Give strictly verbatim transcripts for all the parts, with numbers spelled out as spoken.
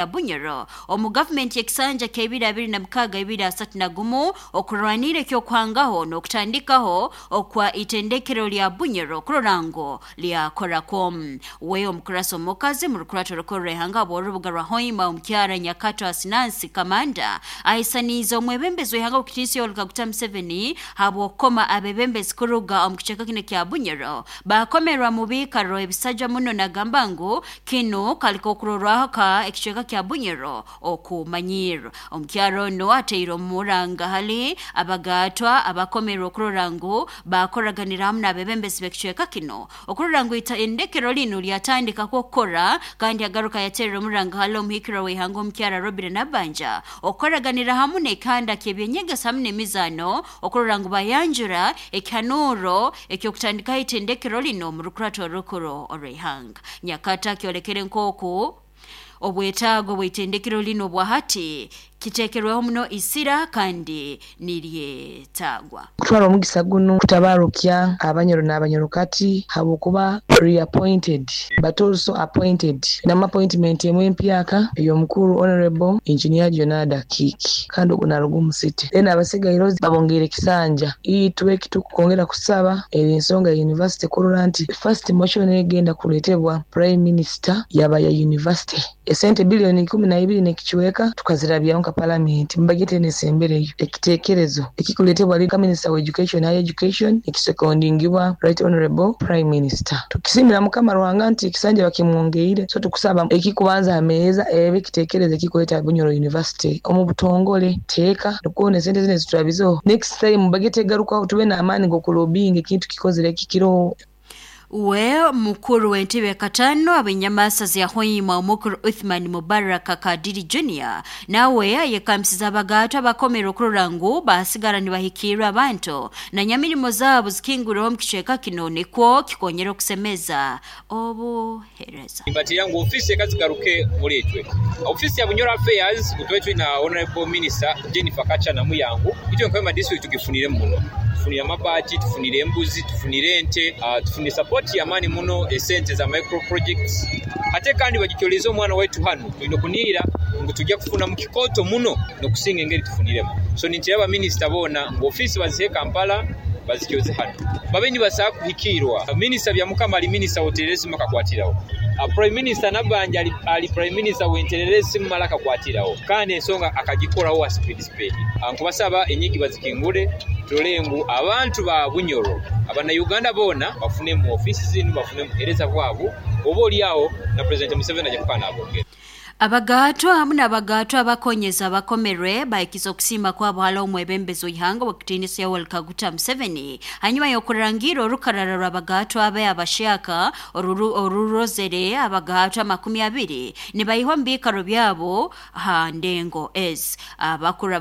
Bunyoro omu gavumenti y'ekisanja ky'ebiri abiri na mukaaga ebiri asatu na gumu okurwanira eky'okuhangaho n'okutandikaho okwa itendekero lya Bunyoro kurora ngu lyakorako. We omukurasi omukazi mu rukurato rukorra ihanga bw'orubuga rwa Hoima, omukyara Nyakato Asinansi Kamanda, ahisaniize omwebembezi w'ihanga w'ekitiinisa Yoweri Kaguta Museveni habw'okukoma abebembezi kuruga omu kicweka kinu kya Bunyoro bakomerwa mu biikaro ebisajwa muno, nagamba ngu kinu kali k'okurorwaho ka ekicweka kya Bunyoro okumanyirwa. Omukyaro ono ateire omuranga hali abagatwa abakomerwe okurora ngu bakoraganira hamu n'abebembezi b'ekicweka kino okurora ngu itendekero linu lyatandika kukora, kandi agaruka yaterera omuranga hali omuhikirwa w'ihanga omukyara Robert Nabanja okukoraganira hamu n'ekihanda ky'ebyenyegesa hamu n'emizaano okurora ngu bayanjura ekihanuuro eky'okutandikaho itendekero lino omu rukurato orukuru orw'ihanga. Nyakata kyolekere nk'oku obwetaago bw'itendekero lino bwa hati kiteekerweho muno isira kandi niryetaagwa. Kutwara omugisa guno kutabarukya Abanyoro n'Abanyorokati habwokuba reappointed but also appointed nama appointment emwe empyaka ey'omukuru Honorable Engineer Jonada Kiki, kandi ogu naruga omu city. Then abasigaire babongeire ekisanja. Itwe ekitukwongera kusaba eri ensonga ya university kurora nti first motion egenda kuleetebwa Prime Minister yaba ya university. Esente biliyoni ikumi na ibiri n'ekicweka tukazirabyaho nka palamenti mubagete nesembereyo ekiteekerezo ekikuleetebwa ka Minister wa Education, Higher Education, ekisekondingibwa Right Honorable Prime Minister. Tukisimira Mukama Ruhanga nti ekisanja bakimwongeire, so tukusaba ekikubanza ameeza ebe ekiteekerezo ekikuleeta Bunyoro University omu butongole teeka nukwo esente zino eziturabizeho next time bagete egarukaho tube n'amaani g'okulobbyinga ekintu kikozere kikiroho. We mukuru w'entebe katano ab'enyamasa za Hoima omukuru Uthman Mubaraka Kadiri Junior nawe ayekamisiza abagato abakomera okurora ngu basigara nibahikirra abantu na nyamirimo zaabo zikingurweho omu kicweka kino nikwo kikonyera okusemeza obuheereza. Mbatira ngu ofisi ekazigaruke muri itwe ofisi ya Bunyoro Affairs utwe twina Honorable Minister Jennifer Kacha na Muyangu itwe nkwema district tugifunire muno, tufunire amabaati, tufunire embuzi, tufunire ente, uh, tufunire support yamani muno esente za micro projects, ate kandi bagikyoleza omwana waitu hano tulina kunira ngu tujja kufuna mu kikoto muno nokusinga engeri tufuniremu. So nintiraba minisita boona ngu ofisi bazihe Kampala bazikyoze hano babe nibasaa kuhikirwa. Minisita Byamukama ali minisita wotereresi makakwatirawo, Prime Minister Nabanja ali, ali Prime Minister wentereresi mumala akakwatirawo kandi ensonga akagikorawo wa speed speed. Nkubasaba enyigi bazikingule turole ngu abantu ba Bunyoro Abannayuganda boona bafune mu ofisi zinu, bafune muhereza bwabo oba oliawo na President Museveni ajja kuba nabongera. Abagatwa hamu n'abagatwa abakonyeza abakomerwe bahikiza okusiima kwabo hali omwebembezi w'ihanga w'ekitiinisa Yoweri Kaguta Museveni hanyuma y'okurangira orukarara rw'abagatwa abe abashyaka orurozere abagatwa makumi abiri nibaihwa mu biikaro byabo ha ndengo ezi. Abakuru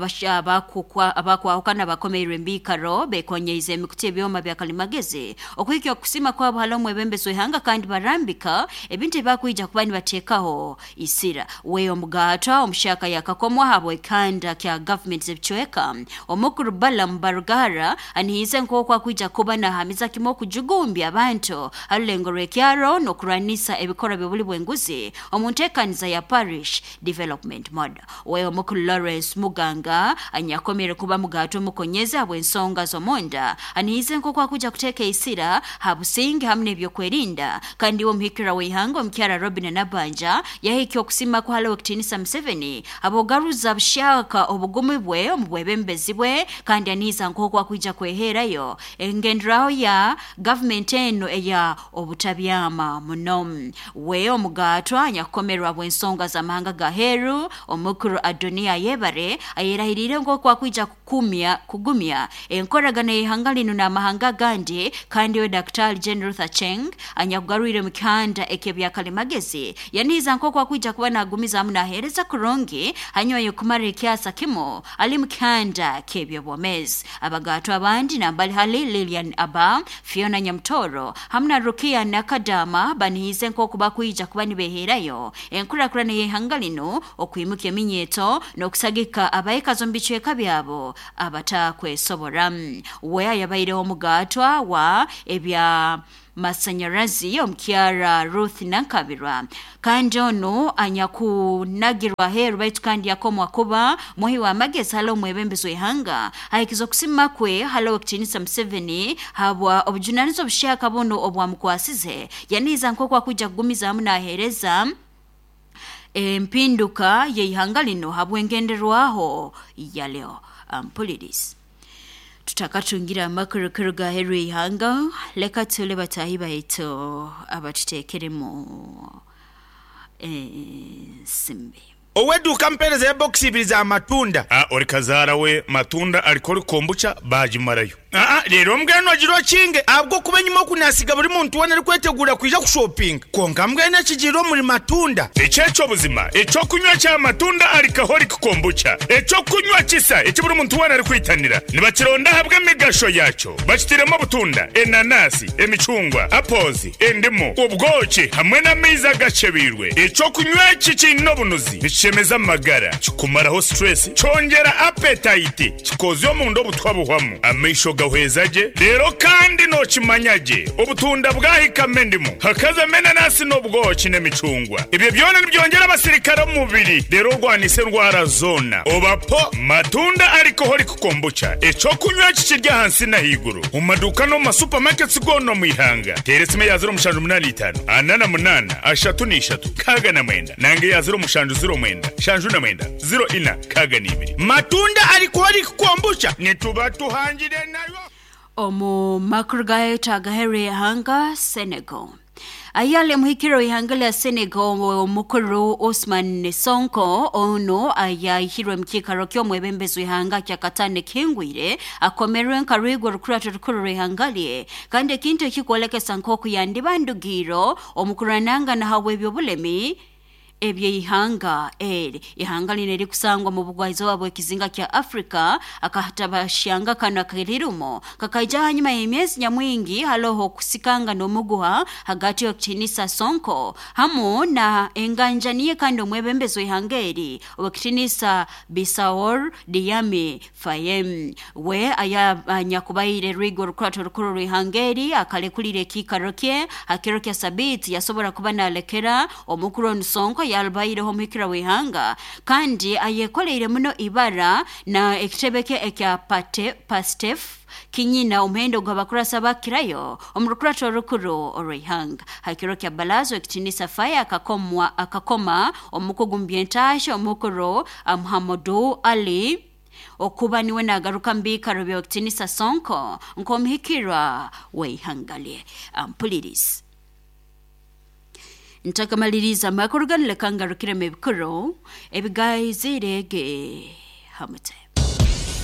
abakwahukana bakomeirwe embiikaro bekonyeize emikutu ebyoma bya kalimagezi okuhikya okusiima kwabo hali omwebembezi w'ihanga kandi barambika ebintu ebibakwija kuba nibateekaho isira. We omugatwa omushaka yakakomwa habwekanda kya government z'ebicweka omukuru Balaam Barugara anihize nk'oku akwija kuba nahamiza kimwe okujugumbya abantu harulengo rw'ekyaro n'okurwanisa ebikorwa by'obuli bw'enguzi omu nteekaniza ya Parish Development Model. We omukuru Lawrence Muganga anyakomere kuba mugatwa omukonyeza habw'ensonga z'omunda anihize nk'oku akwija kuteeka isira ha businge hamu n'ebyokwerinda, kandi we omuhikira w'ihanga omukyara Robin Nabanja yahikya okusima kuhali w'ekitiinisa Museveni abogaruza bushaka obugumi bwe omu bwebembezi bwe, kandi aniiza nk'oku akwija kweherayo engenderaho ya gavumenti eno eya obutabyama muno. We omugatwa anyakukomerwa bw'ensonga z'amahanga ga heru omukuru Adonia Yebare ayerahirire nk'oku akwija kukumya kugumya enkoragana y'ihanga lino n'amahanga agandi, kandi we Daktari Jane Ruth Aceng anyakugarwire mu kihanda eky'ebyakalimagezi yaniiza nk'oku akwija kuba nagumiza hamu naheereza kurungi hanyuma y'okumara ekyasa kimu ali mu kihanda ky'ebyobwomezi. Abagatwa abandi nambali hali Lilian Aba, Fiona Nyamtoro hamu na Rukia Nakadama banihize nk'oku bakwija kuba nibeherayo enkurakurana y'ihanga lino okwimuka eminyeto n'okusagika abaikazi omu bicweka byabo abatakwesobora. We ayabaireho omugatwa wa ebya Masanyarazi omukyara Ruth Nankabirwa kandi ono anyakunagirwa heru baitu kandi yakomwa kuba muhi wa magezi hali omwebembezi w'ihanga ahikiza okusima kwe hali owekitinisa Museveni habwa obujunaniza obushaka buno obwamukwasize yaniza nk'oku akuja kugumiza hamu nahereza empinduka y'ihanga lino habwengenderwaho ya leo. Ampulirizi tutakatungira amakuru kuruga aheru y'ihanga, leka tule batahi baitu abatuteekeremu ensimbi. Oweduka mpereza ya box ibiri za matunda. Ah, ori kazara we matunda alikori kombucha bajimarayo. Ah, rero mbweno agiro kinge abwo kuba nyuma kunasiga buri muntu wena ari kwetegura kuja kushopping. Konka mbwene kigiro muri matunda. Echecho buzima, echo kunywa cha matunda alikahori kombucha. Echo kunywa kisa, echi buri muntu wena ari kwitanira. Nibakironda habwe migasho yacho. Bakitiremo butunda, enanasi, emicungwa, apples, endimu, ubwoki hamwe n'amaizi agacebirwe. Echo kunywa kikino bunuzi. Chemeza magara, kikumaraho stress, chongera appetite, kikozyo mu ndo butwa buhwamu, amaisho gahwezaje, rero kandi no kimanyaje, obutunda bwahika mendimu, hakaza menanasi n'obwoki n'emicungwa. Ibyo byona nibyongera abasirikare mu mubiri, rero rwanise ndwara zona. Obapo matunda alcoholic kombucha, echo kunywa kikirya hansi na higuru. Mu maduka no ma supermarkets gono mu ihanga. Teresime ya zero mushanju munani itanu, anana munana, ashatu n'ishatu, kaga na mwenda. Nange ya zero mushanju zero mwenda. Shanju na mwenda zero ina kaga n'ibiri. Matunda alcoholic kombucha nituba tuhangire nayo. Omu makuru gayo agahere ihanga Senegal. Ayale muhikiro ihanga lya Senegal omukuru Osman Sonko ono ayahirwe mukikaro ky'omwebembezi w'ihanga kya Katane Kingwire akomerwe nkarwigwa rukurato rukuru rw'ihanga lye kandi ekintu ekikwolekesa nk'oku yandibandugiro omukurananga nahawe ebyobulemi ebye ihanga eri ihanga line likusangwa mu bugwaizo bwa ekizinga kya Afrika akahatabashanga kano akirirumo kakaija hanyuma y'emyezi nyamwingi haloho kusikanga n'omuguha hagati y'okutinisa Sonko hamu na enganjaniye kandi omwebembezi w'ihanga eri owekitinisa Bisaor Diami Fayem we aya nyakubaire rwigo rukurato rukuru rw'ihanga eri akalekulire ekikaro kye hakiro kya sabiti yasobora kuba nalekera omukuru Sonko yalbaireho muhikira w'ihanga kandi ayekoleire muno ibara na ekitebe kye ekya Pastef kinyina omuhendo gw'abakurasa bakirayo omurukurato rukuru orw'ihanga hakiro kya balazo ekitinisa Faya akakomwa akakoma omukugu mbyentaasha omukuru Muhammadu Ali okuba niwe nagaruka mbikaro by'ekitinisa Sonko nk'omuhikira w'ihanga lye. Ampulirizi ntakamaliriza makuru ganile kangarukire mebikuru ebigayizirege hamute.